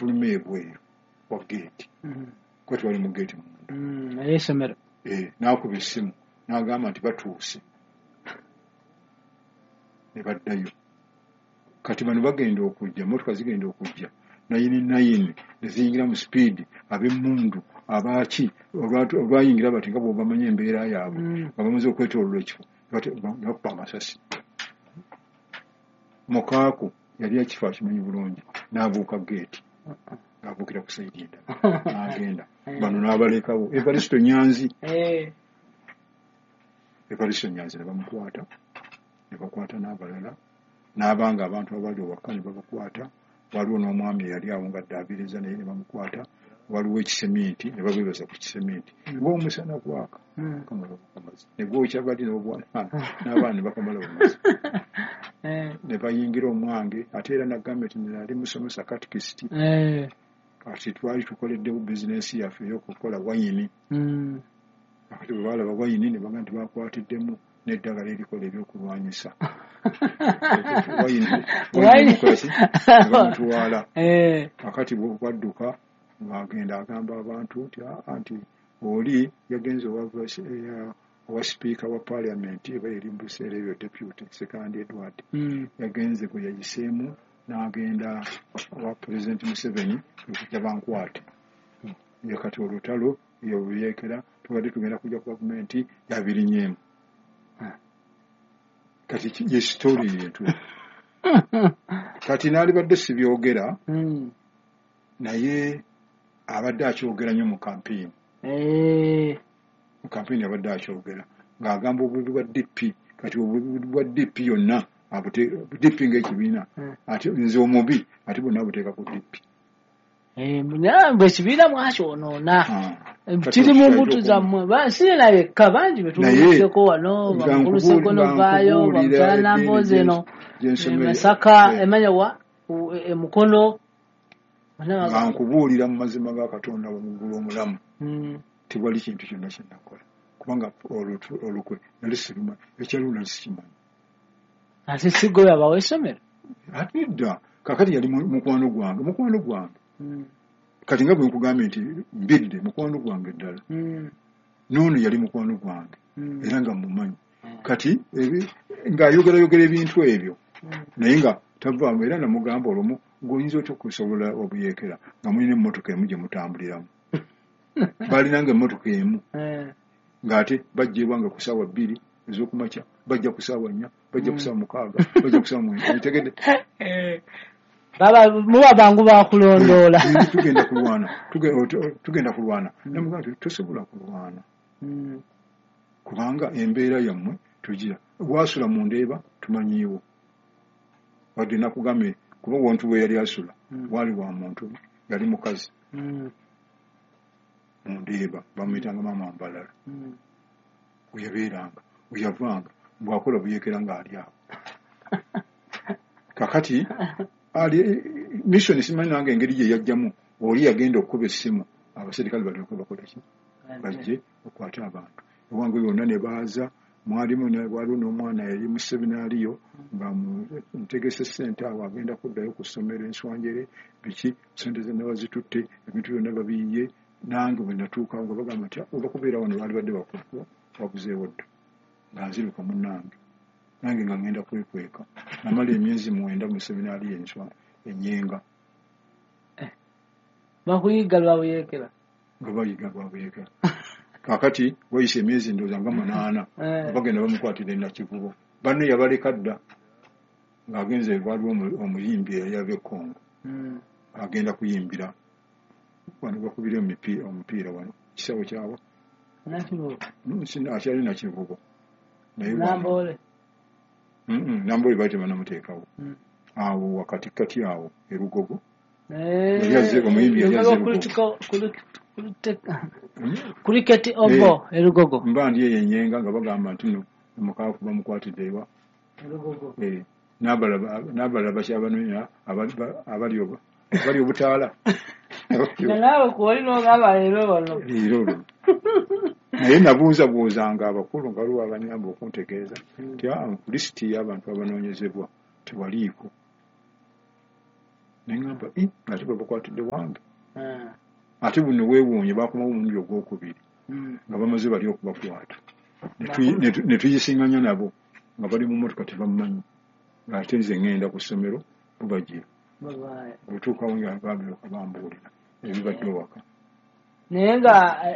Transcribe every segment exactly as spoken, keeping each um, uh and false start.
bafuluma ebweru wa geeti, kuba tewali mu geeti munda. Ey'essomero. N'akuba essimu n'agamba nti batuuse, ne baddayo. Kati bano bagenda okujja, emmotoka zigenda okujja nine nine ne ziyingira mu sipiidi, ab'emmundu abaaki olwayingira bati nga bw'obamanyi embeera yaabwe, nga bamaze okwetooloola ekifo ne bakuba amasasi. Mukaaku yali ekifo akimanyi bulungi, n'abuuka geeti ng'abuukira ku sayidi endala n'agenda, bano n'abalekawo. Evaristo Nyanzi, Evaristo Nyanzi ne bamukwata, ne bakwata n'abalala, n'abanga abantu abali ewaka ne babakwata. Waliwo n'omwami eyali awo nga ddaabiriza naye ne bamukwata. Waliwo ekiseminti ne babeebaza ku kiseminti ng'omusana gwaka kamala bukamazi ne gwokya bali n'abaana ne bakamala bumazi ne bayingira omwange. Ate era nagambye nti nali musomesa katikisiti, kati twali tukoleddewo bizinensi yaffe ey'okukola wayini. Kati bwe baalaba wayini ne bagamba nti bakwatiddemu n'eddagala erikola ebyokulwanyisa wayini bamutwala. Kakati bwadduka ng'agenda agamba abantu nti nti oli yagenze owa sipiika wa paalamenti eba eri mu biseera ebyo deputy Sekandi Edward, yagenze gwe yayiseemu n'agenda owa Pulezidenti Museveni okujja bankwate. Ye kati olutalo yebuyeekera tubadde tugenda kujja ku gavumenti yabirinyeemu. Kati ye sitori yetu. Kati naalibadde sibyogera, naye abadde akyogera nnyo mu kampeyini. Mu kampeyini abadde akyogera ng'agamba obubi bwa D P. Kati obubi bwa D P yonna D P ng'ekibiina, ate nze omubi ate bonna abuteeka ku D P. Bwe ekibiina mwakyonoona kiri mu mbuto zammwe, sirina yekka bangi betuwuliddeko wano, bamukulu Ssegono vaayo, bamukyala Nambooze eno e Masaka, emanya wa e Mukono. Nga nkubuulira mu mazima ga Katonda mu ggulu omulamu, tewali kintu kyonna kye nakola, kubanga olukwe nali sirumanyi, ekyaliwo nali sikimanyi. Ate si ggwe yabawa essomero? Ate dda kakati yali mukwano gwange, mukwano gwange. Kati nga bwe nkugambye nti mbidde mukwano gwange ddala, n'ono yali mukwano gwange era nga mumanyi. Kati ng'ayogerayogera ebintu ebyo naye nga tavaamu. Era namugamba olumu ng'oyinza otya okusobola obuyeekera nga mulina emmotoka emu gye mutambuliramu. Baalinanga emmotoka emu ng'ate bajja ewange ku ssaawa bbiri ez'okumakya, bajja ku ssaawa nnya, bajja ku ssaawa mukaaga, bajja ku ssaawa mwenda. Otegedde? Muba bangu bakulondoola. Tugenda kulwana, tugenda kulwana. Namugamba nti tosobola kulwana kubanga embeera yammwe tugira. Wasula mu Ndeeba tumanyiiwo, wadde nakugambye kuba wontu we yali asula waali wa muntu, yali mukazi mu Ndeeba bamuyitanga Maama Mbalala, we yabeeranga, we yavanga bw'akola buyeekera ng'ali awo. Kakati ali mission simanyi nange engeri gye yajjamu, oli yagenda okukuba essimu abaserikale balyoke bakola ki, bajje okwate abantu ewange yonna ne baaza. Mwalimu waliwo n'omwana yali mu seminaariyo nga ntegese ssente awo agenda kuddayo ku ssomero enswanjere biki, ssente zonna bazitutte, ebintu byonna babiyiye. Nange bwe natuukawo nga bagamba nti oba kubeera wano baali badde wabuzeewo dda, nga nziruka munnange nange nga ngenda kwekweka. Namala emyezi mwenda mu seminaariyo enswa Enyenga. Bakuyiga lwa buyeekera? Nga bayiga lwa buyeekera. Kakati wayise emyezi ndowooza nga munaana bagenda bamukwatira e Nakivubo. Banne yabaleka dda ng'agenze, waliwo omuyimbi eyali ava e Congo agenda kuyimbira wano, bakubira omupiira wano kisawo kyawa akyali Nakivubo. Namboole. Namboole baali tebanamuteekawo awo wakatikati awo e Lugogo. Yali azze omuyimbi yali azze Lugogo. Cricket Oval e Lugogo. Mba ndi eyo Enyenga nga bagamba nti no mukaaku bamukwatidde ewa Lugogo. N'abalala bakyabanoonya abali abali obutaala. Naawe kwoli n'ogamba leero wano. Leero olwo. Naye nabuuzabuuzanga abakulu nga waliwo abanyamba okuntegeeza nti ku lisiti y'abantu abanoonyezebwa tewaliiko. Neŋŋamba ate babakwatidde wange. Ate buno weewuunye baakomawo omulundi ogwokubiri nga bamaze bali okubakwata. Ne tuyisinganya nabo nga bali mu mmotoka tebammanyi. Ng'ate nze ŋŋenda ku ssomero bo bagira. Bwe tuukawo nga baabireka bambuulira ebibadde ewaka. Naye nga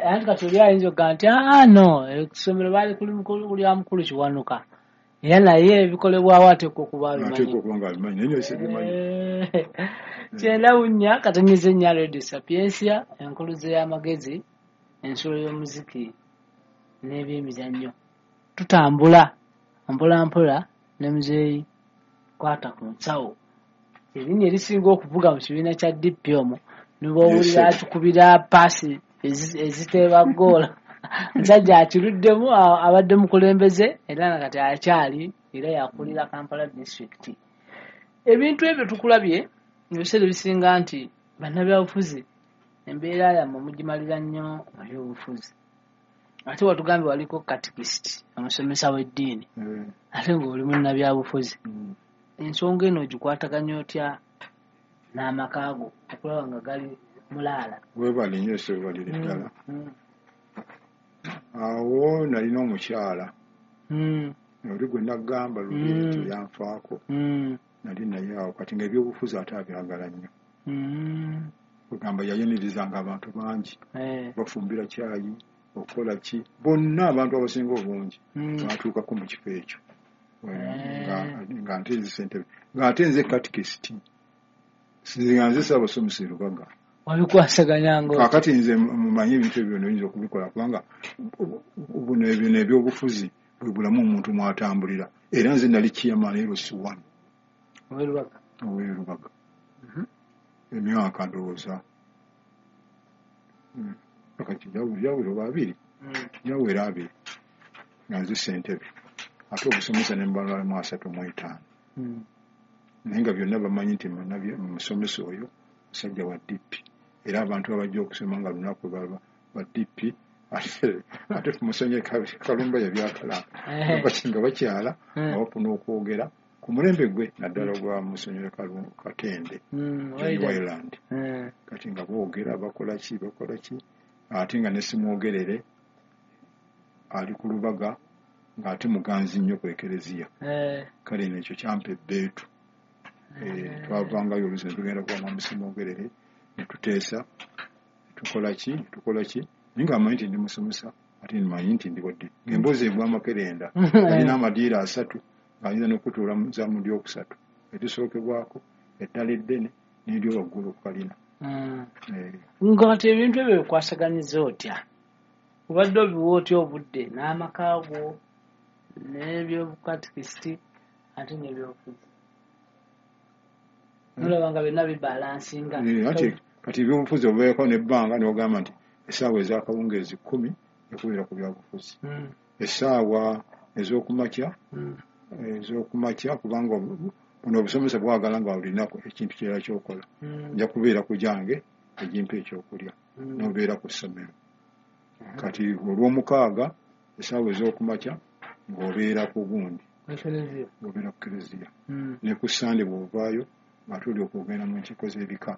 anti kati oli ayinza okugamba nti aa no essomero baali kuli lya mukulu Kiwanuka era naye ebikolebwawo ateekwa okuba abimanyi. Ateekwa okuba nga abimanyi naye sibimanyi. Kyenda bunnya katonyeze nnya Radio Sapientia, enkuluze y'amagezi, ensulo y'omuziki n'ebyemizannyo. Tutambula mpola mpola ne muzeeyi kwata ku nsawo. Erinnya erisinga okuvuga mu kibiina kya D P omwo ne bw'owulira atukubira paasi eziteeba ggoola. Musajja akiruddemu abadde mukulembeze era na kati akyali era yakulira Kampala district. Ebintu ebyo tukulabye ebiseera ebisinga nti bannabyabufuzi embeera yammwe mugimalira nnyo mu byobufuzi. Ate watugambye waliko katikisiti omusomesa w'eddiini ate ng'oli munnabyabufuzi. Ensonga eno ogikwataganya otya n'amaka go okulaba nga gali mulaala? Weebale nnyo seebalire ddala. Awo nalina omukyala oli gwe nagamba luli nti yanfaako. Nali naye awo kati ng'ebyobufuzi ate abyagala nnyo. Kugamba yayinirizanga abantu bangi bafumbira kyayi okukola ki bonna abantu abasinga obungi batuukako mu kifo ekyo. Nga nte nze ssentebe ng'ate nze katikisiti nga nze ssaabasomesa e Lubaga. Wabikwasaganyanga otya? Kaakati nze mumanyi ebintu ebyo byonna oyinza okubikola kubanga buno ebyo ebyobufuzi bwe bulamu omuntu mw'atambulira. Era nze nali chairman L C one ow'e Lubaga. Ow'e Lubaga. Emyaka ndowooza kati gyawera oba abiri gyawera abiri nga nze ssentebe ate obusomesa ne mbalwamu asatu mu etaano. Naye nga byonna bamanyi nti musomesa oyo musajja wa D P era abantu abajja okusoma nga lunaku baba ba D P ate tumusonye Kalumba yabyakala nga bakyala nga bafuna okwogera ku mulembe gwe naddala ogwa Musonyiwe Katende Wayland. Kati nga boogera bakola ki bakola ki ate nga ne simwogerere ali ku Lubaga ng'ate muganzi nnyo ku Ekereziya. Kale ekyo kyampa ebbeetu. Twavangayo oluusi ne tugenda kuba Mwami Simwogerere ne tuteesa tukola ki tukola ki naye nga mmanyi nti ndi musomesa ate mmanyi nti ndi wadde ng'emboozi egwa amakerenda alina amadiiro asatu ng'ayinza n'okutuula mu lyokusatu erisookebwako eddala eddene n'eryo waggulu ku kalina. Nga kati ebintu ebyo bikwasaganyiza otya? Obadde obiwa otya obudde n'amaka go n'ebyobukatikisiti ate n'ebyobufuzi? Nolaba nga byonna bibalansinga. Kati ebyobufuzi obeerako n'ebbanga n'ogamba nti essaawa ez'akawungeezi kkumi ekubeera ku byabufuzi. Essaawa ez'okumakya ez'okumakya kubanga buno obusomesa bwagala nga olinaku ekintu kirala ky'okola. Nja kubeera ku gyange egimpa ekyokulya n'obeera ku ssomero. Kati olw'omukaaga essaawa ez'okumakya ng'obeera ku gundi ng'obeera ku kereziya. Ne ku Ssande bw'ovaayo nga tuli okugenda mu nkiiko z'ebika.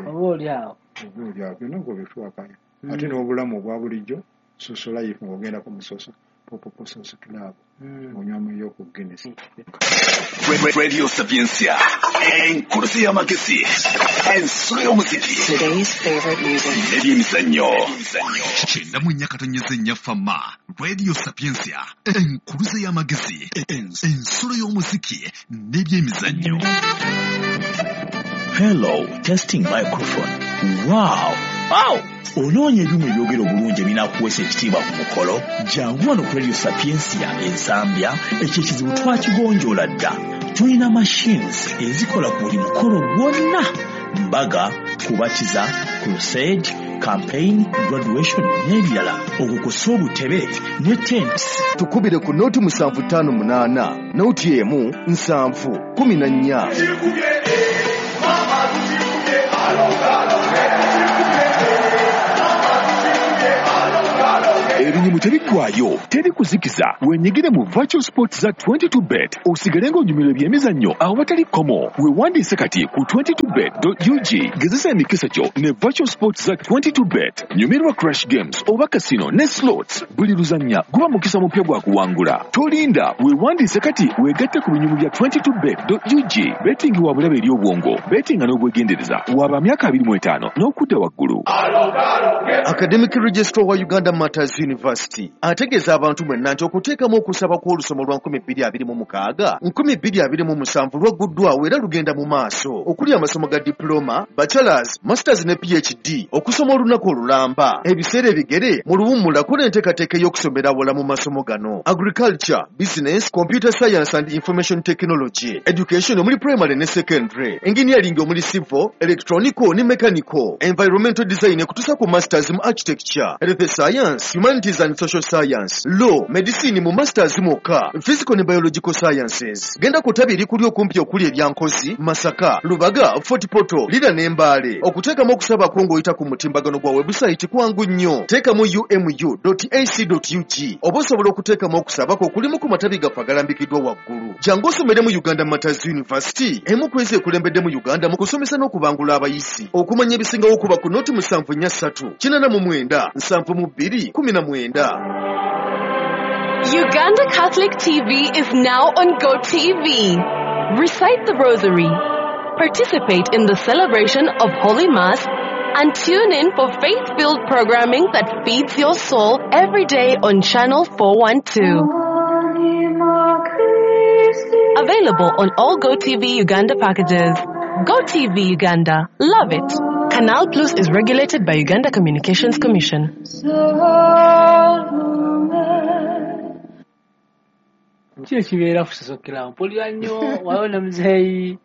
Oba oli awo. Oba oli awo byonna ng'obitwakanya. Ate n'obulamu obwa bulijjo social life ng'ogendako mu social Popo Social Club ng'onywamuyo ku Guinness. Radio Sapientia, enkuluze y'amagezi, ensulo y'omuziki, Today's favorite music. N'ebyemizannyo. Kyenda mu nnya katonyeze nnya Fama, Radio Sapientia, enkuluze y'amagezi, ensulo y'omuziki n'ebyemizannyo. Hello, testing microphone. Wow! Wow! Onoonya ebyuma ebyogera obulungi ebinaakuweesa ekitiibwa ku mukolo? Jangu wano ku Radio Sapientia Ensambya, ekyo ekizibu twakigonjoola dda. Tulina machines ezikola ku buli mukolo gwonna. Mbaga, kubatiza, crusade, campaign, graduation n'ebirala. Okwo kw'ossa obutebe ne tents. Tukubire ku nooti musanvu ttaano munaana, nooti emu nsanvu kumi na nnya. Ebinyuma Ebinyumu tebiggwaayo, teri kuzikiza. Wenyigire mu virtual sports za twenty-two bet osigale ng'onyumirwa ebyemizannyo awatali kkomo. Weewandiise kati ku twenty-two bet dot U G. Gezesa emikisa gyo ne virtual sports za twenty-two bet. Nyumirwa crash games oba casino ne slots. Buli luzannya guba mukisa mupya gwa kuwangula. Tolinda, weewandiise kati weegatte ku binyumu bya twenty-two bet dot U G. Betting wa bulabe eri obwongo. Betting n'obwegendereza. Waba myaka abiri mu etaano n'okudda waggulu. Academic Registrar wa Uganda Matters University ategeeza abantu mwenna nti okuteekamu okusaba kw'olusomo lwa nkumi bbiri abiri mu mukaaga nkumi bbiri abiri mu musanvu lwagguddwawo era lugenda mu maaso okuli amasomo ga diploma, bachelors, masters ne P H D okusoma olunaku olulamba ebiseera ebigere mu luwummula kola enteekateeka ey'okusomera awala mu masomo gano: agriculture, business, computer science and information technology, education omuli primary ne secondary, engineering omuli civil, electronical ne mechanical, environmental design okutuusa ku masters mu architecture, health science, humanities and social science, law, medicine mu masters mwokka, physical ne biological sciences. Genda ku ttabi erikuli okumpi okuli Ebyankozi, Masaka, Lubaga, Fort Portal, Lira ne Mbale. Okuteekamu okusaba kwo ng'oyita ku mutimbagano gwa website kwangu nnyo. Teekamu U M U dot A C dot U G oba osobola okuteekamu okusaba kwo okulimu ku matabi gaffe agalambikiddwa waggulu. Jangu osomere mu Uganda Matters University, emu ku ezo ekulembedde mu Uganda mu kusomesa n'okubangula abayizi. Okumanya ebisingawo kuba ku noti musanvu nnya ssatu kinaana mu mwenda nsanvu mu bbiri kumi na mwenda. Uganda Catholic T V is now on GoTV. Recite the Rosary, participate in the celebration of Holy Mass, and tune in for faith-filled programming that feeds your soul every day on Channel four one two. Available on all GoTV Uganda packages. GoTV Uganda. Love it. Canal Plus is regulated by Uganda Communications Commission. Kino kibeera kusosokera mpulira nnyo waliwo ne muzeeyi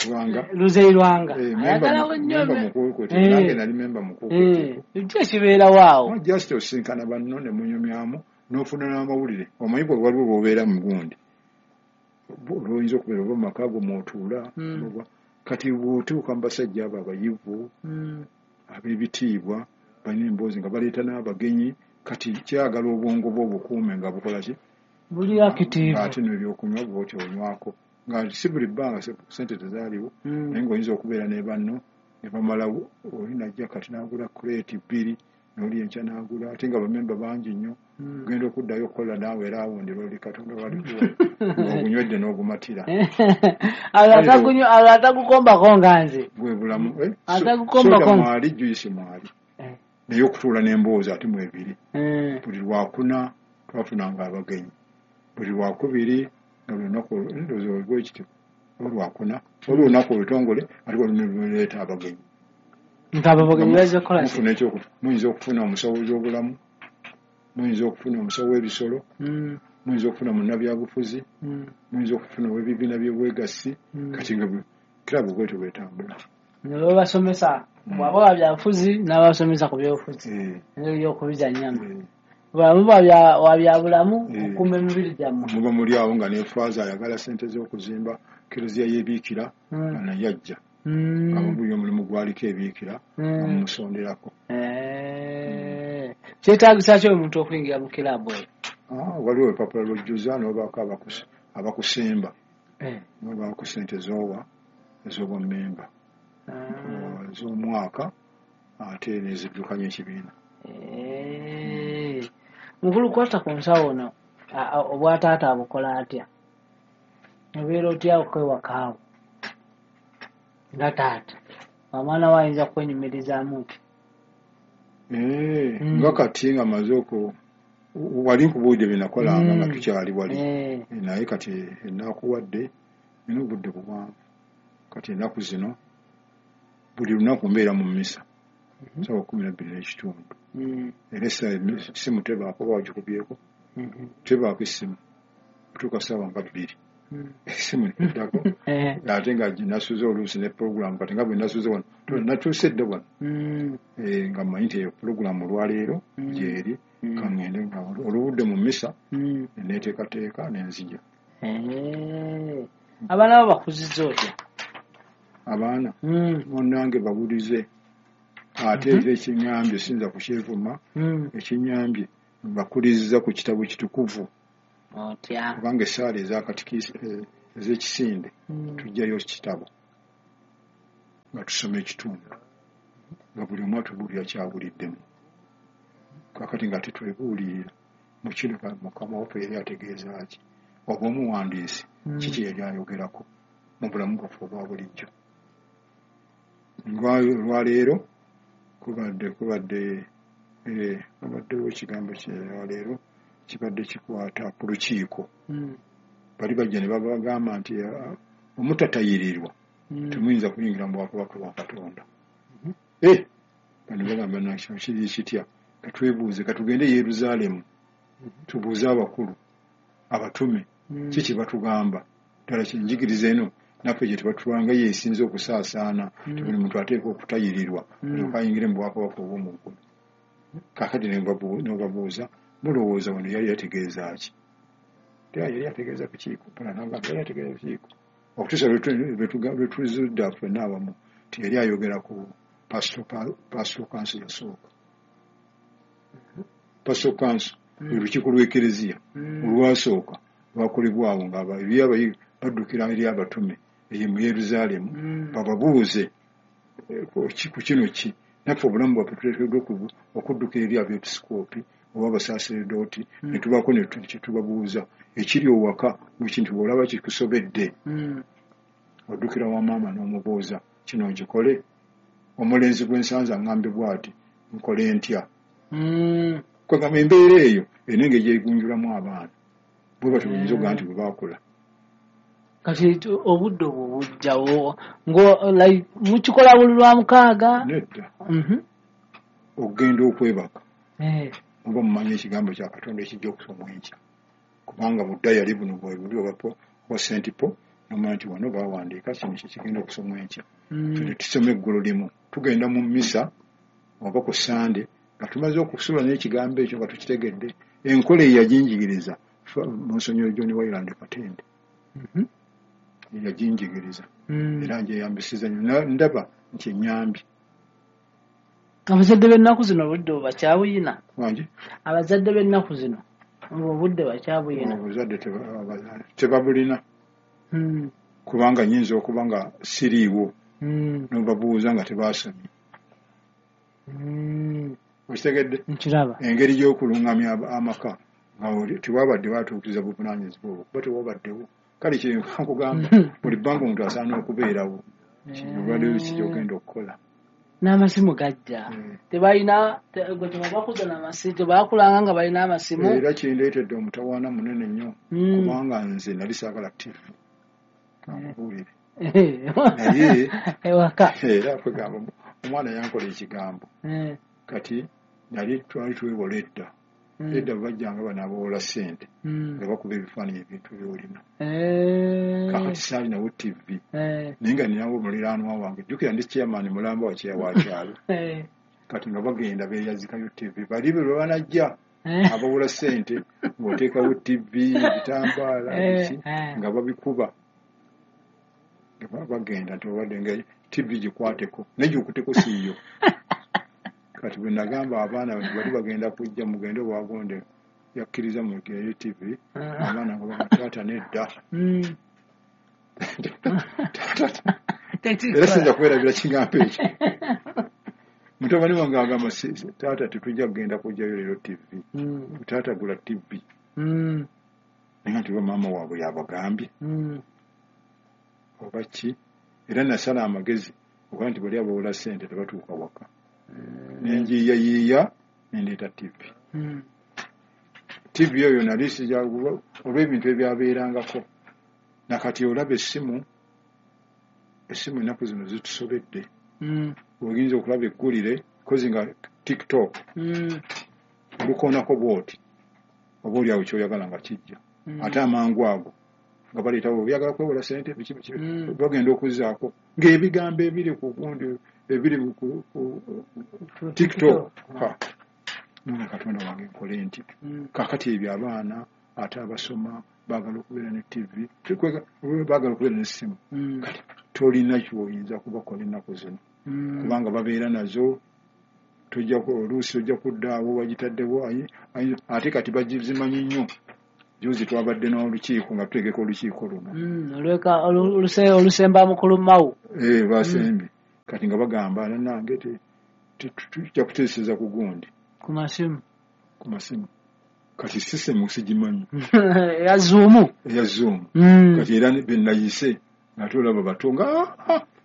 Lwanga Luzeeyi Lwanga ayagalawo nnyo nange nali memba mukuukuutivu. Kino kibeerawo awo just osinkana banno ne munyumyamu n'ofuna n'amawulire. Omanyi bwe waliwo bw'obeera mu gundi lwoyinza okubeera oba mu maka go mw'otuula kati bw'otuuka mu basajja abo abayivu ab'ebitiibwa balina emboozi nga baleeta n'abagenyi kati kyagala obwongo bwo obukuume nga bukola ki buli active ate n'ebyokunywa bw'otyo onywako nga si buli bbanga ssente tezaaliwo naye ng'oyinza okubeera ne banno ne bamalawo oli najja kati n'agula kuleeti bbiri n'oli enkya n'agula ate nga bamemba bangi nnyo ogenda okuddayo okukola naawe era awo ndira oli Katonda walikuwa ng'ogunywedde n'ogumatira. Awo atagukombako nga nze bwe bulamu soda mwali juyisi mwali naye okutuula n'emboozi ate mwebiri buli lwakuna twafunanga abagenyi buli lwakubiri nga lunaku ndowooza olwekityo olwakuna olwolunaku olutongole ate waliwo abagenyi nga abagenyi bazze kukola ki? Mufuna ekyokufa muyinza okufuna omusawo w'ebyobulamu muyinza okufuna omusawo w'ebisolo muyinza okufuna munnabyabufuzi muyinza okufuna ow'ebibiina by'obwegassi kati nga kirabu bwetyo bwetambula ne babasomesa bw'aba wa byabufuzi n'abasomesa ku byobufuzi engeri y'okubizannyamu bw'aba wa byabulamu okukuuma emibiri gyammwe muba muli awo nga ne faaza ayagala ssente z'okuzimba kereziya y'ebiikira nga naye ajja nga buli omulimu gwaliko ebiikira nga mumusonderako. Kyetaagisa ki omuntu okuyingira mu kiraabu eyo? Waliwo olupapula lw'ojjuza n'obaako abakusimba n'obaako ssente z'owa ez'obwammemba ez'omwaka ate n'eziddukanya ekibiina. Mukulu kwata ku nsawo ono obwataata abukola atya? Obeera otya okwewakaawo nga taata omwana we ayinza kwenyumirizaamu ki? Nga kati nga maze oku wali nkubuulidde bye nakolanga nga tukyali wali naye kati enaakuwadde nina obudde buwanvu kati ennaku zino buli lunaku mbeera mu mmisa ssaawa kkumi na bbiri n'ekitundu era essimu tebaako oba wagikubyeko tebaako essimu kutuuka ssaawa nga bbiri essimu neddako ate nga nasuze oluusi ne pulogulaamu kati nga bwe nasuze wano natuuse dda wano nga mmanyi nti eyo pulogulaamu olwaleero gyeri kaŋŋende nga olubudde mu mmisa neneeteekateeka nenzija. Abaana bo bakuzizza otya? Abaana munnange bawulize ate era ekinyambye siyinza kukyevuma ekinyambye Mbakuliriza ku kitabo kitukuvu. Otya? Kubanga essaala ez'akatikisi ez'ekisinde Mm. tujjayo kitabo nga tusoma ekitundu nga buli omu atubuulira kyawuliddemu. Kaakati nga tetwebuulirira mu kino ka- Mukama waffe yali ategeeza ki, oba omuwandiisi Mm. kiki yali ayogerako mu bulamu bwaffe obwa bulijjo. Lwa- Olwaleero kubadde kubadde eh, kubaddewo ekigambo kyalwaleero kibadde kikwata ku lukiiko. Mm. Bali bajja ne babagamba nti ah, omutatayirirwa Mm. temuyinza kuyingira mu bwakabaka bwa Katonda. Eh, bano bagamba nakino kiri kitya, katwebuuze, katugende e Yerusaalemu tubuuze abakulu abatume Mm. ki kye batugamba. Ddala kinjigiriza eno naffe gye tebatulanga yeesinze okusaasaana Mm. nti buli muntu ateekwa okutayirirwa Mm. alyoke ayingire mu bwakabaka obw'omu ggulu. Kaakati ne mbabu- ne babuuza mulowooza wano yali yategeeza ki? Era yali ategeeza kukiiko, mpona n'agamba yali ategeeza kukiiko. Okutuusa lwe tu- lwe tuga- lwe tuzudde ffenna awamu nti yali ayogera ku pastoral pastoral council yasooka. Pastoral council Mm. lwe lukiiko lw'Ekereziya Mm. olwasooka lwakolebwawo nga aba- eri abayi- baddukira eri abatume eyo mu Yerusaalemu Mm. bababuuze eh, ku ki- ku kino ki naffe obulamu bwaffe tuleeteddwa okubu- okuddukira eri abeepisikoopi oba abasaaseredooti Mm. ne tubaako ne tu- kye tubabuuza ekiri owaka mu kintu bw'olaba kikusobedde Mm. oddukira wa maama n'omubuuza kino nkikole, omulenzi gwe nsanze aŋŋambye bw'ati nkole ntya? Mm. Kwegamba embeera eyo erina engeri gyegunjulamu abaana bwe batyo buyinza okugaa nti bwe baakula. Kati tu- obudde obwo bujjawo ngo like mukikola buli lwa mukaaga? Nedda. Mhm. Okugenda okwebaka Eh. muba mumanyi ekigambo kya Katonda ekijja okusomwa enkya, kubanga mu dayali buno bwe buli oba po- oba Saint Paul nomanya nti wano bawandiika kino kyekigenda okusomwa enkya. Mm. Ffe tusoma eggulo limu, tugenda mu mmisa oba ku Sande nga tumaze okusula n'ekigambo ekyo nga tukitegedde. Enkola eyo yaginjigiriza Monsignor John Wayland Katende. Mhm. Yaginjigiriza Mm. era ngyeyambisiza nnyo. Na- ndaba nti ennyambi. Abazadde b'ennaku zino obudde bwe bakyabuyina? Wangi? Abazadde b'ennaku zino obwo obudde bakyabuyina? Obuzadde teba- aba- tebabulina Mm. kubanga nyinza okuba nga siriiwo Mm. nobabuuza nga tebasomye. Mm. Okitegedde? Nkiraba. Engeri y'okulungamya ab- amaka nga oli- tewabadde batuukiriza buvunaanyizibwa obwo kuba tewabaddewo. Kale kyenkugamba buli bbanga omuntu asaana okubeerawo olwaleero ki kyogenda okukola. N'amasimu gajja. Mm. Tebalina te- gwe tebabakuza n'amasimu, tebakulanga nga balina amasimu. Era kindeetedde omutawaana munene nnyo Mm. kubanga nze nali saagala T V, kankubuulire. Naye- ewaka. Era kwegamba omwana yankola ekigambo. Eh. Kati nali twali twewola edda. Mm. Edda bajjanga bano abawola ssente Mm. nga bakuba ebifaananyi ebintu by'olina. Eh. Kakati saalinawo T V Eh. naye nga ninawo muliraanwa wange, jjukira ndi chairman mulamba wa kyeya wa kyalo. Eh. Kati nga bagenda beeyazikayo T V bali be lwe banajja Eh. abawola ssente ng'oteekawo T V, ebitambaala, Eh, biki eh. nga babikuba nga ba- bagenda nti obadde nga T V gikwateko naye gikuteko siiyo. Kati bwe nagamba abaana nti bali bagenda kujja mugende wagonde yakkiriza mugeyo T V, abaana nga baga taata nedda. Mm. Taata, era siyinza kwerabira kigambo ekyo. Mutabani wange agamba, "Si- si- taata tetujja kugenda kujjayo leero T V." Mm. Taata gula T V. Mm. Naye nga nti oba maama waabwe yabagambye Mm. oba ki. Era nasala amagezi okuba nti bali abawola ssente tebatuuka waka, nenjiiyayiiya nendeeta T V. Mm. T V oyo nali sija olw'ebintu ebyabeerangako. Nakati olaba essimu, essimu ennaku zino zitusobedde. Mm. Oyinza okulaba eggulire kozi nga TikTok Mm. olukoonako bwoti oba oliawo kyoyagala nga kijja. Mm. Ate amangu ago nga baleetawo oyagala kwewola sente biki biki. Mm. Bagenda okuzzaako ng'ebigambo ebiri ku gundi ebiri ku ku- TikTok. Ha, nonga Katonda wange nkole nti Mm. kakati ebyo abaana ate abasoma baagala okubeera ne T V, Tekwega- baagala okubeera n'essimu. Mm. Kati tolina kyoyinza kubakola ennaku zino Mm. kubanga babeera nazo. Tojja oluusi ojja kudda awo wagitaddewo, ate kati bagizimanyi nnyo. Juzi twabadde n'olukiiko nga tutegeka olukiiko luno. Mm, olweka olusemba mukulu Mao. Eh, basembye. Kati nga bagamba nange tujja kuteeseza ku gundi. Ku masimu. Ku masimu. Kati system sigimanyi. Ya Zoom. Ya Zoom. Mm. Kati era be nayise ate olaba bato nga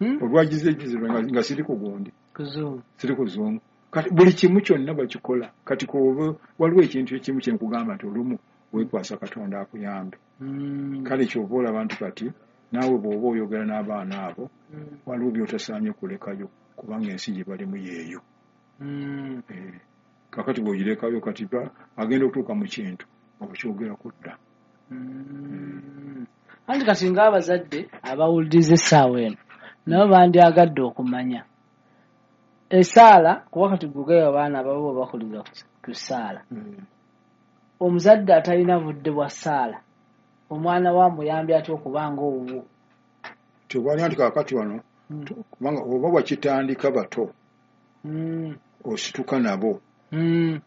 mm. olwagize egize nga siri ku gundi. Ku Zoom. Siri ku Zoom. Kati buli kimu kyonna bakikola. Kati ko waliwo ekintu ekimu kye nkugamba nti olumu weekwasa Katonda akuyambe. Mm. Kale ky'oba olaba nti kati naawe bw'oba oyogera n'abaana abo mm. waliwo by'otasaanye kulekayo kubanga ensi gye balimu yeeyo. Mm. Eh, kakati bw'ogirekayo kati agenda okutuuka mu kintu okukyogerako dda. Mm. Anti kati ng'abazadde abawuliriza essaawa eno nabo bandyagadde okumanya essaala, kuba kati gwe abaana ababo bakuliza ku ssaala. Mm. Omuzadde atalina budde bwa ssaala omwana wa muyambi atya okubanga owuwo? Tewali anti kaakati wano mm. kubanga oba wakitandika bato mm. osituka nabo. Mm.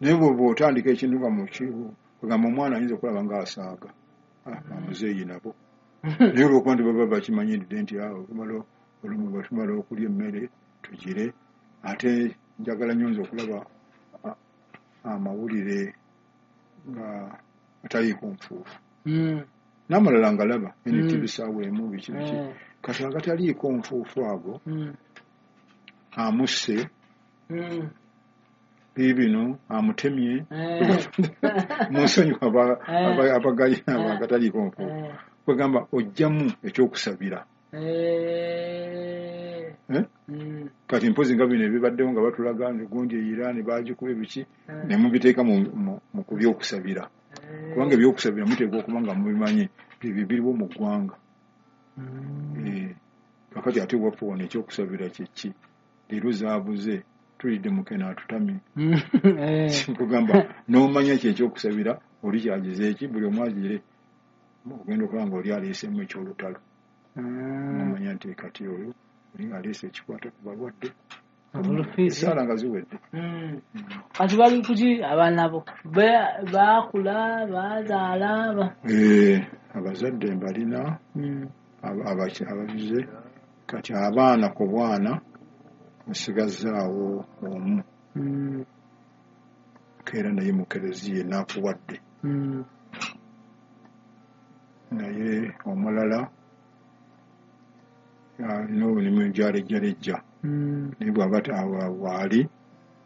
Naye bw'oba otandika ekintu nga mukigamba omwana ayinza okulaba ng'asaaga amuzeeyi nabo. Naye olw'okuba nti baba bakimanyiridde nti tumala olumu bwe tumala okulya emmere tugire, ate njagala nnyo nze okulaba amawulire nga ataliiko nfuufu. Mm. N'amalala ngalaba N T V Mm. ssaawa emu biki biki. Mm. Kati agataliiko nfuufu ago mm. amusse mm. biibino amutemye eh. munsonyiwa eh. abagalina eh. agataliiko nfuufu. Eh. Kwegamba ojjamu ekyokusabira. Eh. Eh? Mm. Kati mpozi nga bino ebibaddewo nga batulaga nti gundi e Iran baagikuba biki eh. ne mubiteeka mu, mu, mu ku byokusabira. Eh. Kubanga ebyokusabira muteekwa okuba nga mubimanyi ebyo biriwo mu ggwanga. Mm. Eh, kakati ate waffe wano ekyokusabira kye ki? Leero zaabuze tulidde mukene atutamye. Eh. Nkugamba n'omanya ki ekyokusabira oli kyagize eki buli omu agire ogenda okulaba nga oli aleeseemu ekyolutalo. Mm. N'omanya nti kati oyo oli aleese ekikwata ku balwadde. Obulufiisi. Essaala nga ziwedde. Mm. Kati bali kuki abaana bo? Baakula, bazaala ba. Eh, abazadde mbalina mm. ababize kati abaana ku bwana nsigazzaawo omu. Mm. Keera naye mu kereziya enaakuwadde. Mm. Naye omulala alina obulimu gyalejjalejja. Mm. Naye bw'aba waali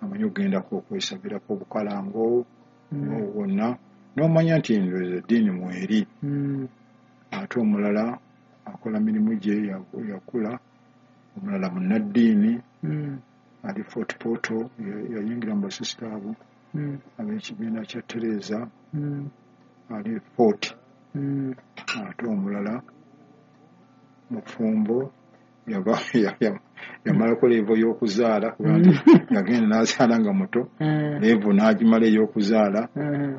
amanyi okugendako okwesabirako obukalango mm. wonna n'omanya nti ndowooza eddiini mweri. Mm. Ate omulala akola mirimu gye yakula, omulala munnaddiini mm. ali Fort Portal yayingira mu basisita abo mm. ab'ekibiina kya Teresa mm. ali Fort. Mm. Ate omulala mufumbo yamalako levo y'okuzaala kubanga yagenda n'azaala nga muto levo n'agimala ey'okuzaala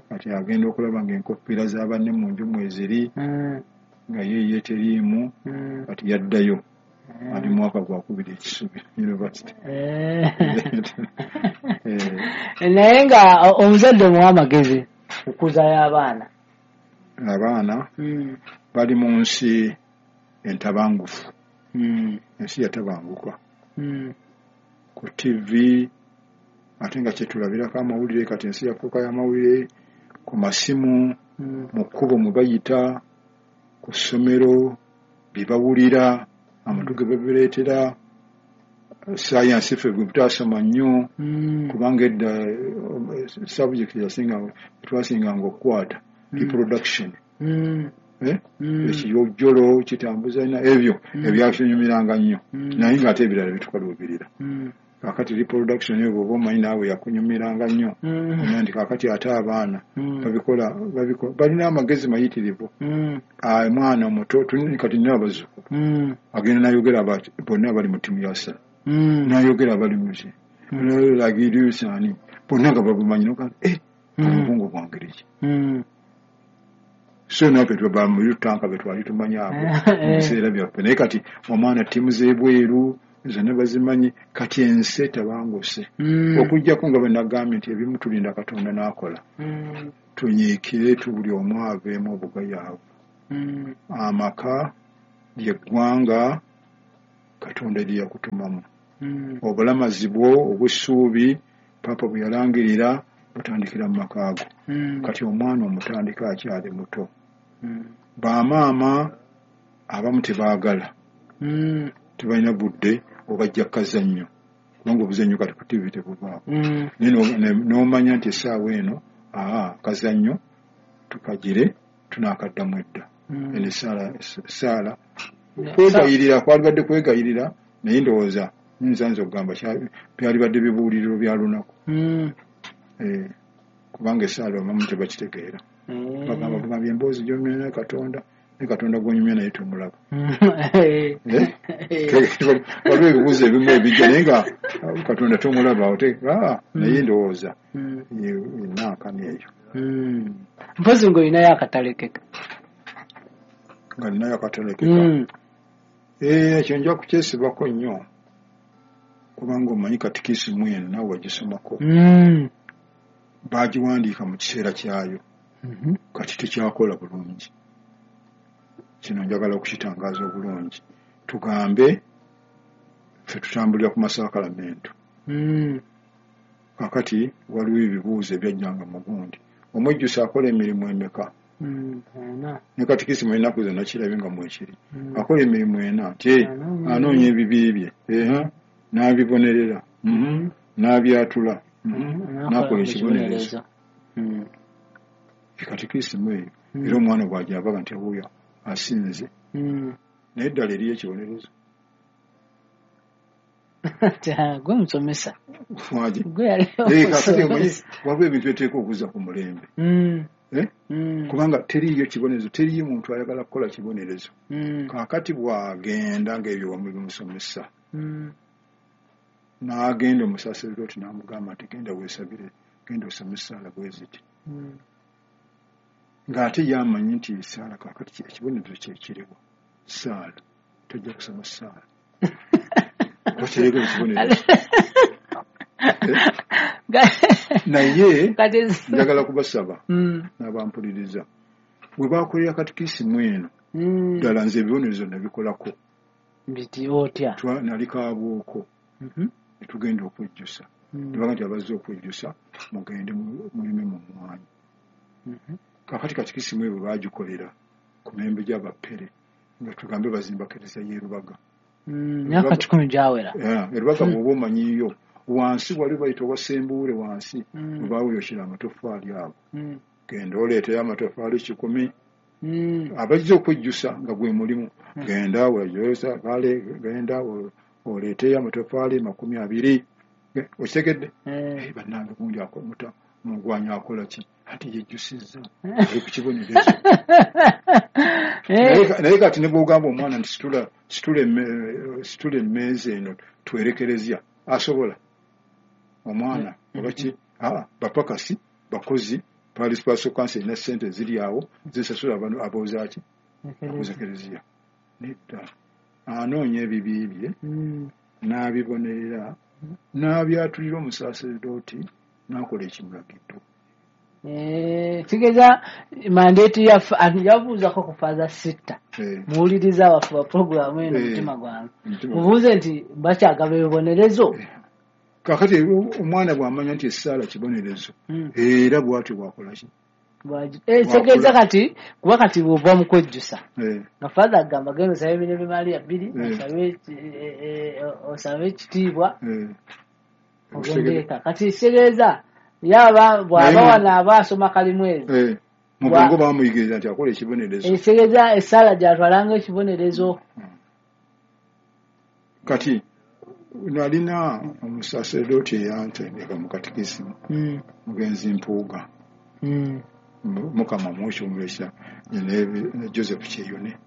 kati agenda okulaba ng'enkofiira za banne mu nju mweziri nga ye ye teriimu kati yaddayo ali mwaka gwa kubiri ekisubi university. Naye nga omuzadde muwa amagezi okuzayo abaana. Abaana bali mu nsi entabangufu. Mm. Ensi yatabanguka. Mm. Ku T V ate nga kyetulabirako amawulire kati ensi yafuuka y'amawulire ku masimu mm. mu kkubo mwe bayita ku ssomero bye bawulira amatu ge babireetera sayansi ffe gwe tutasoma nnyo mm. kubanga edda subject yasinga twasinganga okukwata mm. reproduction. Mm. Eh? Mm. Ekiyojjolo kitambuza na ebyo mm. ebyatunyumiranga nnyo mm. naye ng'ate ebirala bitukaluubirira. Mm. Kaakati reproduction eyo bw'oba omanyi naawe yakunyumiranga nnyo mm. omanya nti kaakati ate abaana mm. babikola babikola balina amagezi mayitirivu. Mm. Omwana omuto kati nina abazzukulu mm. agenda n'ayogera bonna abali mu ttiimu ya Arsenal mm. n'ayogera abali mu ki lagiriusaani bonna nga babumanyi nogaa eh obwongo bwangeri ki. So naffe twaba mu tanka be twali tumanyi abo mu biseera byaffe naye kati omwana ttiimu z'ebweru Zonna bazimanyi. Kati ensi etabanguse. Mm. Okuggyako nga bwe nagambye nti ebimu tulinda Katonda n'akola. Mm. Tunyiikire tu buli omu aveemu obugayaavu. Mm. Amaka lyeggwanga Katonda lye yakutumamu. Mm. Obulamazi bwo obw'essuubi Paapa bwe yalangirira butandikira mu maka ago. Mm. Kati omwana omutandika akyali muto. Mm. Bamaama abamu tebaagala. Mm. Tebalina budde obajja kazannyo. Kubanga obuzannyo kati ku T V tebuvaako. Mm. Naye n'omanya nti essaawa eno aa kazannyo tukagire tunaakaddamu edda. Mm. Eno essaala essaala kwegayirira kwalibadde kwegayirira naye ndowooza nza nze okugamba byalibadde bibuuliriro bya lunaku. Mm. Eh, kubanga essaala abamu tebakitegeera. Mm. Bagamba bugambye emboozi gy'onyumya naye Katonda, ne Katonda gw'onyumya naye tomulaba. Eh. Waliwo ebibuuzo ebimu ebijja naye nga Katonda tomulaba oteeka naye ndowooza enaakani eyo. Mpozi ng'olinayo akatalekeka. Nga ninayo akatalekeka. Eh, ekyo nja kukyesibako nnyo kubanga omanyi katikisimu eno naawe wagisomako. Baagiwandiika mu kiseera kyayo. Kati tekyakola bulungi. Kino njagala okukitangaaza obulungi. Tugambe ffe tutambulira ku masaakalamento. Kaakati waliwo ebibuuzo ebyajjanga mu gundi. Omwejjusa akola emirimu emeka? Ne katikisimu ennaku zonna kirabye nga mwekiri. Akola emirimu ena nti anoonya ebibi bye, n'abibonerera, n'abyatula, n'akola ekibonerezo. Katikisimu eyo era omwana bw'agyavaga nti wuuyo asinze. Naye eddala eriyo ekibonerezo. Gwe musomesa. Waliwo ebintu ebiteekwa okuzza ku mulembe. Kubanga teriiyo kibonerezo, teriiyo muntu ayagala kukola kibonerezo. Kaakati bw'agenda ng'ebyo wamu bimusomesa, n'agenda omusaserdooti n'amugamba nti genda weesabire, genda osome essaala bwe ziti. Ng'ate ye amanyi nti essaala kaakati ekibonerezo kye kiriwo. Ssaala, tojja kusoma ssaala. Toteeka ekibonerezo. Naye njagala kubasaba n'abampuliriza bwe bakolera katikisimu eno ddala nze ebibonerezo nabikolako. Biti otya? Nali Kabuuko ne tugenda okwejjusa. Ne bagamba nti abazze okwejjusa mugende mulime mu mmwanyi. Kaakati katikisimu eyo bwe baagikolera ku mirembe gy'Abapere nga tugambe bazimba kereziya y'e Rubaga. Myaka kikumi gyawera. E Rubaga bw'oba omanyiyo wansi wali bayita owasembuule wansi we baawuyokyera amatoffaali ago. Genda oleeteyo amatoffaali kikumi. Abajja okwejjusa nga gwe mulimu genda weeyosa kale genda oleeteyo amatoffaali makumi abiri. Okitegedde? Bannange gundi muta mugwanyi akola ki? Ati yejjusizza ali ku kibonerezo. Naye kati ne bw'ogamba omwana nti situla situla emmeeza eno twerekerezya asobola omwana oba ki? Bapakasi bakozi Parish Pastoral Council erina ssente ziri awo zisasula abooza ki? Abooza kereziya. Nedda anoonya ebibi bye n'abibonerera n'abyatulira omusaserdooti n'akola ekimulagiddwa. Kitegeeza mandate yaffe yabuuzako ku Father Sitta. Muwuliriza waffe wa puroguraamu eno mutima gwange. Mubuuze nti bakyagaba ebibonerezo. Kaakati omwana bw'amanya nti essaala kibonerezo era bw'atyo bw'akola ki? Kitegeeza kati kuba kati bw'ova mu kwejjusa nga Father agamba genda osabe Emirembe Maria bbiri osabe ekitiibwa ogende eka. Kati kitegeeza yaba bw'aba wano aba asoma kalimwezi. Mu bwongo bamuyigiriza nti akola ekibonerezo. Kitegeeza essaala gy'atwalanga ekibonerezo. Kati nalina omusaserdooti eyantendeka mu katikisimu mugenzi Mpuuga. Mukama mukyumulisa ne Joseph Kyeyune.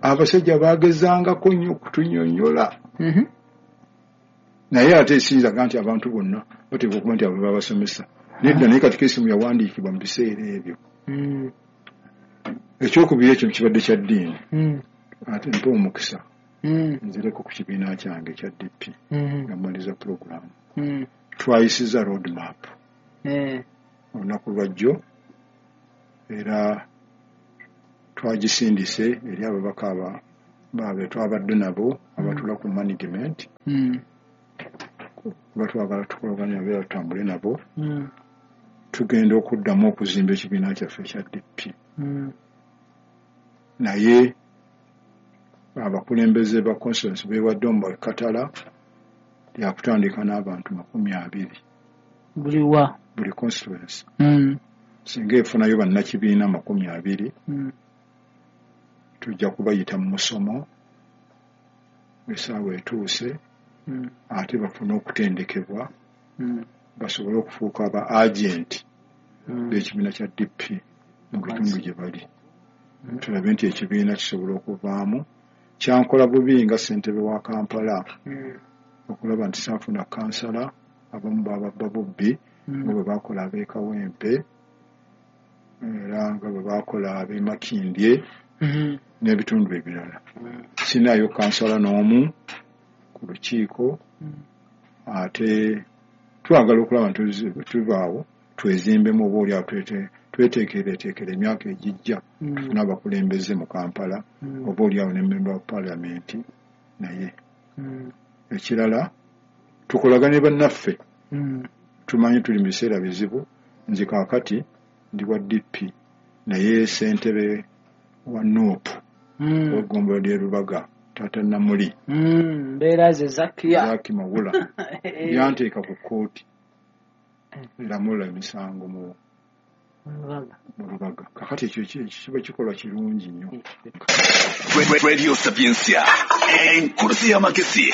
Abasajja baagezangako nnyo okutunnyonnyola. Naye ate siyinza nti abantu bonna bateekwa okuba nti abo babasomesa. Nedda naye katikisimu yawandiikibwa mu biseera ebyo. Ekyokubiri ekyo kibadde kya ddiini. Ate mpa omukisa. Mm. Nzireko ku kibiina kyange ekya D P mm. nga mmaliza pulogulaamu. Mm. Twayisiza road map mm. olunaku lwajjo, era twagisindise eri ababaka aba babe twabadde nabo abatula ku management mm. kuba twagala tukolagane nabo era tutambule nabo. Mm. Tugenda okuddamu okuzimba ekibiina kyaffe ekya D P. Mm. Naye abakulembeze ba constituency beewadde omu katala lyakutandika n'abantu makumi abiri buli wa buli constituency. Mm. Singa efunayo bannakibiina makumi abiri mm. tujja kubayita mu musomo essaawa etuuse mm. ate bafune okutendekebwa mm. basobole okufuuka aba agenti mm. b'ekibiina kya D P mu bitundu gye bali. Mm. Tulabe nti ekibiina kisobola okuvaamu. Kyankola bubi nga ssentebe wa Kampala mm. okulaba nti saafuna kansala, abamu bababba bubbi mm. nga bwe baakola ab'e Kawempe era nga bwe baakola ab'e Makindye mm. n'ebitundu ebirala. Mm. Sinaayo kansala n'omu ku lukiiko mm. ate twagala okulaba nti tuvaawo twezimbemu oba oli awo tweteekereteekere emyaka egijja mm. tufune abakulembeze mu Kampala mm. oba oli awo ne memba wa paalamenti. Naye mm. ekirala tukolagane bannaffe. mm. Tumanyi tuli mu biseera bizibu. Nze kaakati ndi wa D P naye ssentebe wa N U P mm. w'eggombolola ly'e Lubaga taata Namuli mm. mbeera ze Zakiya Zaki Mawula yanteeka ku kkooti eramula emisango mu mu Lubaga. Kakati ekyo kiba kikolwa kirungi nnyo. Radio Sapientia, enkulusi y'amagezi,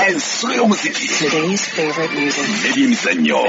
ensulo y'omuziki, Today's favorite music, n'ebyemizannyo.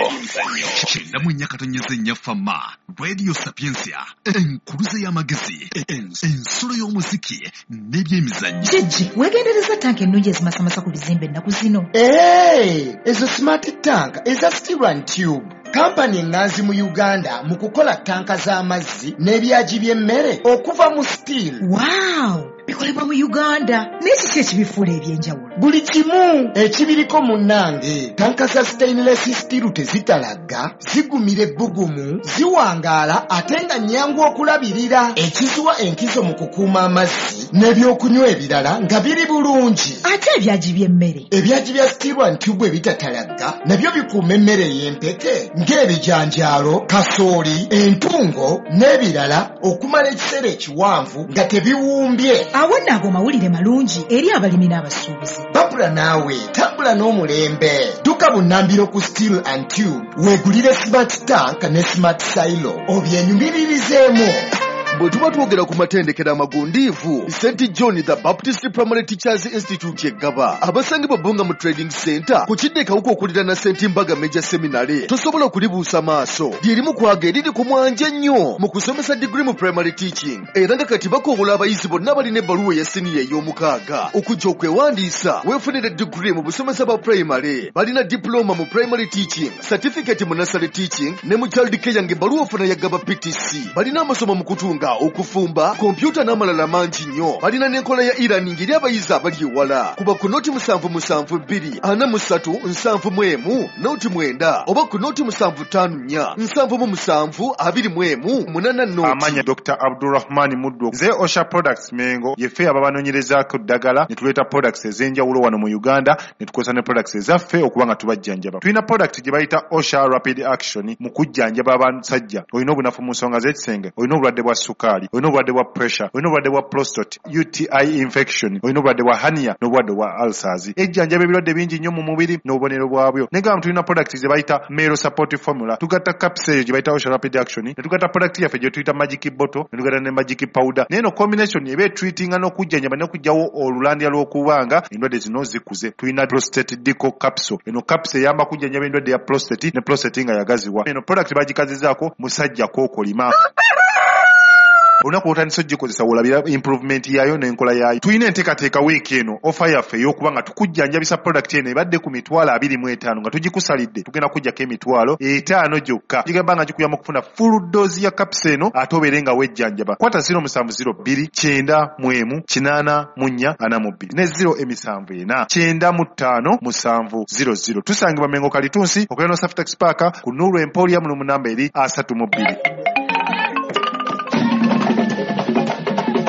Kyenda mu nnya katonyeze nnya Fama, Radio Sapientia, enkulusi y'amagezi, ensulo y'omuziki n'ebyemizannyo. Jjajja, weegendereza tanka ennungi ezimasamasa ku bizimbe ennaku zino. Ee, ezo smart tank eza steel and tube. Kampani eŋŋanzi mu Uganda mu kukola tanka z'amazzi n'ebyagi by'emmere okuva mu steel. Wow! Bikolebwa mu Uganda. Naye kiki ekibifuula eby'enjawulo? Buli kimu ekibiriko munnange. Tanka za stainless steel tezitalagga, zigumira ebbugumu, ziwangaala ate nga nnyangu okulabirira. Ekiziwa enkizo mu kukuuma amazzi n'ebyokunywa ebirala nga biri bulungi. Ate ebyagi by'emmere? Ebyagi bya steel and tube ebitatalagga nabyo bikuuma emmere ey'empeke ng'ebijanjaalo, kasooli, entungo n'ebirala okumala ekiseera ekiwanvu nga tebiwumbye. Awo nno ago mawulire malungi eri abalimi n'abasuubuzi. Babula naawe tambula n'omulembe. Dduka bunnambiro ku Steel and Tube weegulire smart tank ne smart silo obyenyumiririzeemu. Bwe tuba twogera ku matendekero amagundiivu, Saint John the Baptist Primary Teachers Institute Eggaba, abasangibwa Bbunga mu Trading Center ku kidde Kawuka okuliraana Saint Mbaga Major Seminary, tosobola kulibuusa maaso. Lyerimu kwaga eriri ku mwanje ennyo mu kusomesa degree mu primary teaching, era nga kati bakowola abayizi bonna abalina ebbaluwa eya siniya ey'omukaaga okujja okwewandiisa weefunire degree mu busomesa bwa primary. Balina diploma mu primary teaching, certificate mu nursery teaching ne mu child care ng'ebbaluwa ofuna ya Gaba P T C. Balina amasomo mu kutunga, okufumba, kompyuta n'amalala mangi nnyo. Balina n'enkola ya e-learning eri abayizi abali ewala. Kuba ku noti musanvu musanvu bbiri ana mu ssatu nsanvu mu emu noti mwenda oba ku noti musanvu ttaano nnya nsanvu mu musanvu abiri mu emu munana noti. Amanya Doctor Abdulrahman Muddo. Ze Osha Products Mengo yeffe ababanoonyerezaako ddagala ne tuleeta products ez'enjawulo wano mu Uganda ne tukozesa ne products ezaffe okuba nga tubajjanjaba. Tulina product gye bayita Osha Rapid Action mu kujjanjaba abasajja. Olina obunafu mu nsonga z'ekisenge, olina obulwadde bwa sukaali, olina obulwadde bwa pressure, olina obulwadde bwa prostate, U T I infection, olina obulwadde bwa hernia n'obulwadde bwa ulcers. Ejjanjaba ebirwadde bingi nnyo mu mubiri n'obubonero bwabyo. Naye nga tulina product ze bayita Male Support Formula, tugatta capsule eyo gye bayita Osha Rapid Action, ne tugatta product yaffe gye tuyita Magic Bottle, ne tugatta ne Magic Powder. Naye eno combination eba etreatinga n'okujjanjaba n'okuggyawo olulandya lw'okubanga endwadde zino zikuze. Tulina prostate deco capsule. Eno capsule eyamba kujjanjaba endwadde ya prostate ne prostate nga yagaziwa. Eno product bagikazizaako musajja kookolima. Olunaku lw'otandise ogikozesa wolabira improvement yaayo n'enkola yaayo. Tulina enteekateeka wiiki eno, ofa yaffe ey'okuba nga tukujjanjabisa product eno ebadde ku mitwalo abiri mu etaano nga tugikusalidde, tugenda kujjako emitwalo etaano gyokka. Gigamba nga gikuyamba okufuna full dose ya capsule eno ate obeere nga wejjanjaba. Kwata zero musanvu zero bbiri kyenda mu emu kinaana mu nnya ana mu bbiri ne zero emisanvu ena kyenda mu ttaano musanvu zero zero. Tusangibwa Mengo Kalitunsi okulira no Safetex Park ku Nuru Emporium mu namba eri asatu mu bbiri.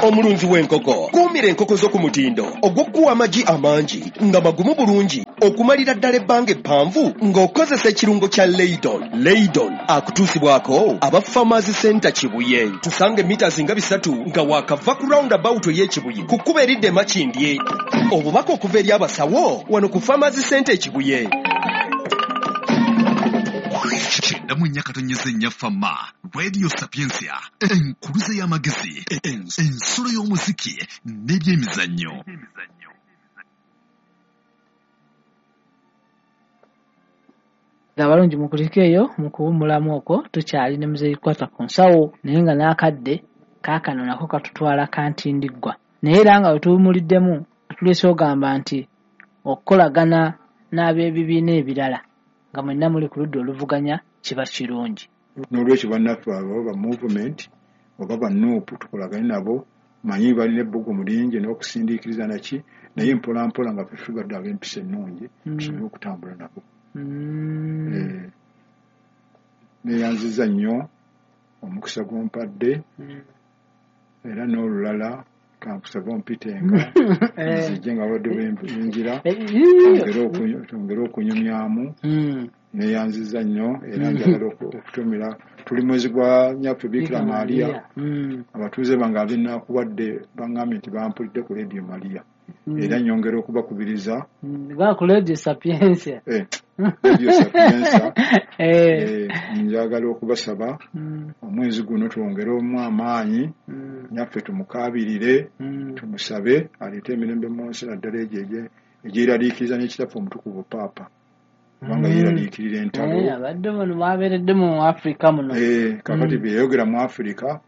Omulunzi w'enkoko, kuumira enkoko zo ku mutindo ogw'okuwa amagi amangi nga magumu bulungi okumalira ddala ebbanga eppanvu ng'okozesa ekirungo kya Leydon. Leydon akutuusibwako aba Farmers Center Kibuye. Tusange mita nga bisatu nga waakava ku roundabout ey'Ekibuye ku kkubo eridda e Makindye. Obubaka okuva eri abasawo wano ku Farmers Center e Kibuye. Kyenda mu nnya katonyeze nnya Fama Radio Sapientia, enkuluze y'amagezi, ensulo y'omuziki n'ebyemizannyo. Abalungi mukulike eyo mu kuwummulamu okwo tukyali ne Muzeeyi Kwata ku nsawo, naye nga n'akadde kaakano nako katutwala kantindiggwa. Naye era nga we tuwummuliddemu tuleese ogamba nti okukolagana n'ab'ebibiina ebirala nga mwenna muli ku ludda oluvuganya kiba kirungi. N'olwekyo bannaffe abo ba movement oba ba N U P tukolagane nabo, manyi balina ebbugumu lingi n'okusindiikiriza naki, naye mpola mpola nga ffe tugadde ab'empisa ennungi tusobole okutambula nabo. Eh, neeyanziza nnyo omukisa gw'ompadde, era n'olulala kankusaba ompitenga nzije nga badde bwenjira twongere okunyumyamu. Neeyanziza nnyo era njagala okutumira, tuli mwezi gwa Nnyaffe Bikira Maria, abatuuze bange ab'enaakuwadde baŋŋambye nti bampulidde ku Radio Maria, era nyongera okubakubiriza ku Radio Sapientia. Radio Sapientia. Njagala okubasaba omwezi guno twongeremu amaanyi, Nnyaffe tumukaabirire, tumusabe aleete emirembe mu nsi, naddala egyo egyeraliikiriza n'ekitaffe omutukuvu Paapa, kubanga yeeraliikirira entalo. Abadde muno mwabeeredde mu Afrika muno. Kakati bye yayogera mu Afrika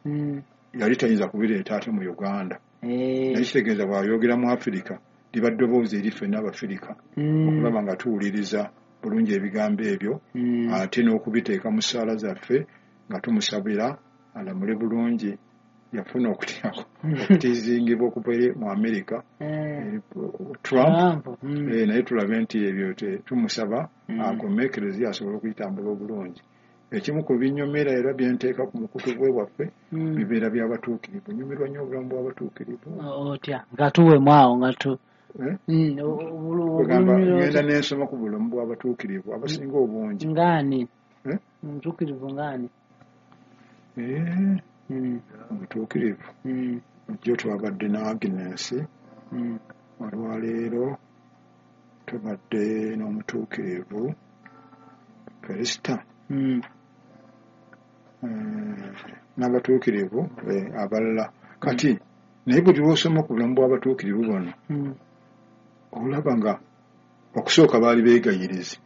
yali tayinza kubireeta ate mu Uganda. Naye kitegeeza bw'ayogera mu Afrika liba ddoboozi eri ffenna Abafirika okulaba nga tuwuliriza bulungi ebigambo ebyo, ate n'okubiteeka mu ssaala zaffe nga tumusabira alamule bulungi. Yafuna okutizingibwa okuva eri mu Amerika Trump, naye tulabe nti ebyo tumusaba akome Ekereziya asobole okuyitambula obulungi. Ekimu ku binyomera era byenteeka ku mukutu gwe waffe bibeera by'abatuukirivu. Nyumirwa nnyo obulamu bw'abatuukirivu. Otya nga tuwemu awo nga tu ogamba ngenda n'ensoma ku bulamu bw'abatuukirivu abasinga obungi. Ngaani omutuukirivu ngaani? Omutuukirivu jjo twabadde ne Agnes, olwaleero tubadde n'omutuukirivu Felista n'abatuukirivu abalala. Kati naye buli lw'osoma ku bulamu bw'abatuukirivu bano olaba nga okusooka baali beegayirizi,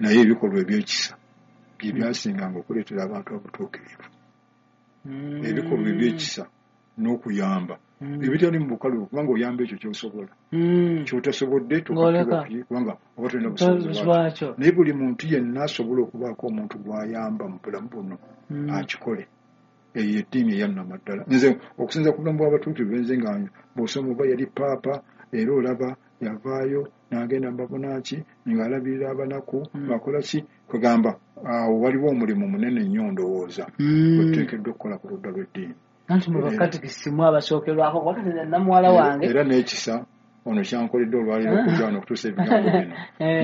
naye ebikolwa eby'ekisa bye byasinganga okuleetera abantu obutuukirivu. Ebikolwa eby'ekisa n'okuyamba ebitali mu bukalu, kubanga oyamba ekyo ky'osobola, ky'otasobodde kubanga oba tolina busobozi bwakyo. Naye buli muntu yenna asobola okubaako omuntu gw'ayamba mu bulamu buno akikole. Eyo eddiini eyannamaddala. Nze okusinza ku bulamu bw'abatuukirivu nze nga bw'osoma oba yali paapa, era olaba yavaayo n'agenda mu babunaaki ng'alabirira abanaku ng'akola ki, kwegamba awo waliwo omulimu munene nnyo ndowooza gwe tuteekeddwa okukola ku ludda lw'eddiini. Anti mu bakatikisimu abasookerwako wakati namuwala wange. Era n'ekisa ono kyankoledde olwaleero okujja wano okutuusa ebigambo bino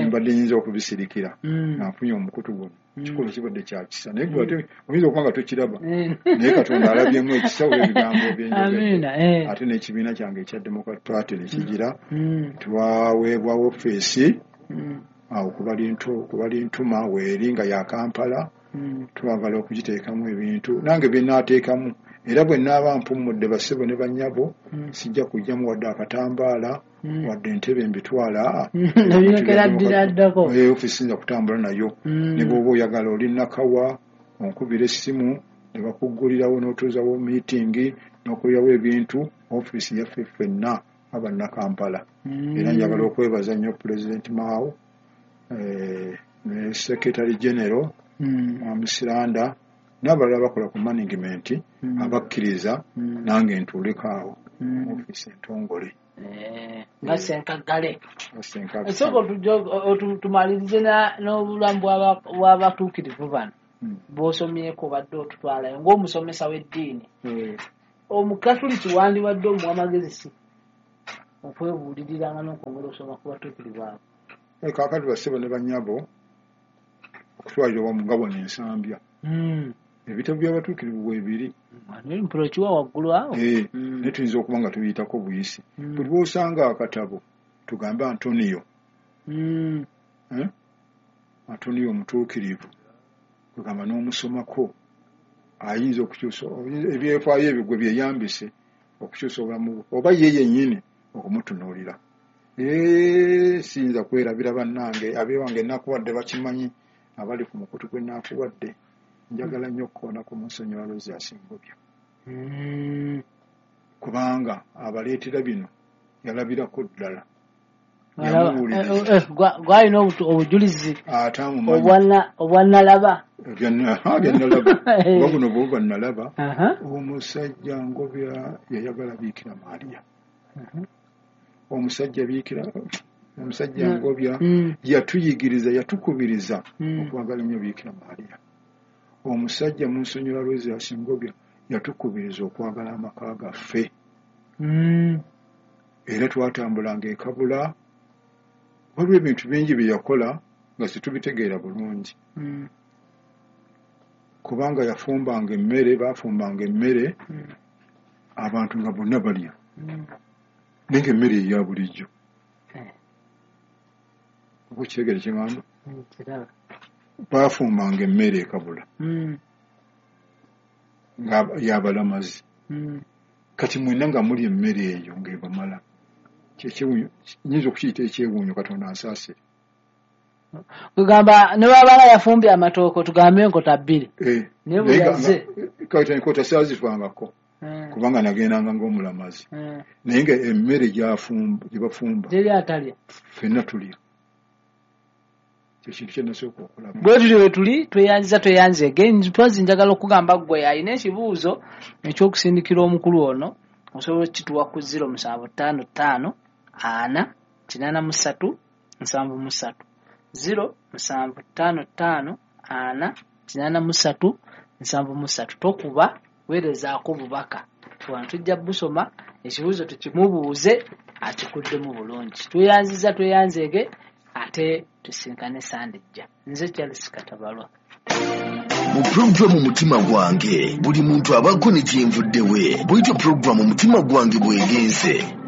mbadde nyinza okubisirikira nga nfunye omukutu guno. Kikolwa kibadde kya kisa, naye gwe ate oyinza okuba nga tokiraba, naye Katonda alabyemu ekisa olw'ebigambo byenjogedde. Ate n'ekibiina kyange ekya Democrat Party ne kigira twaweebwa ofiisi awo kubali ntuma weeri nga ya Kampala, twagala okugiteekamu ebintu nange bye naateekamu. Era bwe naaba mpummudde bassebo ne bannyabo sijja kujjamu wadde akatambaala wadde entebe mbitwala ofiisi nja kutambula nayo. Ne bw'oba oyagala oli Nakawa onkubira essimu Ne bakuggulirawo n'otuuzawo meeting n'okulirawo ebintu, ofiisi yaffe ffenna abannakampala. Era njagala okwebaza nnyo Pulezidenti Mao, eh, ne Secretary General Mwami Siranda n'abalala bakola ku management abakkiriza nange ntuuleko awo mu ofiisi entongole. Nga Ssenkaggale. Esooka tumalirize n'obulamu bw'abatuukirivu bano bw'osomyeko, obadde otutwalayo ng'omusomesa w'eddiini. Omukatuliki wandibadde omuwa amagezi si okwebuuliriranga n'okwongera okusoma ku batuukirivu abo? Kaakati bassebo ne bannyabo, okutwalira wamu nga wano Ensambya ebitabo by'abatuukirivu weebiri. Mpulokiwa waggulu awo. Naye tuyinza okuba nga tubiyitako buyisi. Buli lw'osanga akatabo tugambe Antonio, Antonio omutuukirivu, kugamba n'omusomako ayinza okukyusa ebyefaayo ebyo gwe byeyambise okukyusa obulamu oba ye yennyini okumutunuulira. Siyinza kwerabira bannange abeewange ennakuwadde bakimanyi, abali ku mukutu gw'ennakuwadde. Njagala nnyo okukoona ku Munsonyiwa Aloysius Ngobya, kubanga abaleetera bino yalabirako ddala. Gwalina obujulizi obwannalaba. Byannalaba oba buno bwe bannalaba. Omusajja Ngobya yayagala Biikira Maria. Omusajja Biikira omusajja Ngobya yatuyigiriza, yatukubiriza okwagala ennyo Biikira Maria. Omusajja Munsonyiwa Aloysius Ngobya yatukubiriza okwagala amaka gaffe. Era twatambulanga e Kabula. Waliwo ebintu bingi bye yakola nga situbitegeera bulungi, kubanga yafumbanga emmere, baafumbanga emmere abantu nga bonna balya, naye nga emmere eya bulijjo. Oba okitegeera kye ŋŋamba? Baafumbanga emmere e Kabula nga y'abalamazi. Kati mwenna nga mulya emmere eyo ng'ebamala. Kyekyewuunyo, nnyinza okukiyita ekyewuunyo, Katonda ansaasire. Kugamba ne bw'abaala yafumbye amatooke tugambe enkota bbiri. Naye bwe yazze kati enkota saazifangako kubanga nagendanga ng'omulamazi. Naye nga emmere gy'afumba gye bafumba teri atalya, ffenna tulya. Kyekintu kye nasooka okulaba. Bwe tutyo bwe tuli tweyanziza tweyanzeege. Mpozi njagala okugamba ggwe alina ekibuuzo eky'okusindikira omukulu ono, osobola okukituwa ku ziro musanvu ttaano ttaano ana kinaana mu ssatu nsanvu mu ssatu. Ziro musanvu ttaano ttaano ana kinaana mu ssatu nsanvu mu ssatu. Tokuba, weerezaako bubaka. Wano tujja busoma, ekibuuzo tukimubuuze akikuddemu bulungi. Tweyanziza tweyanzeege, ate tusinkane Sande ejja. Nze Charles Katabalwa. Mu pulogulaamu Mutima Gwange buli muntu abaako ne kyenvuddewe. Bw'etyo pulogulaamu Mutima Gwange bw'egenze.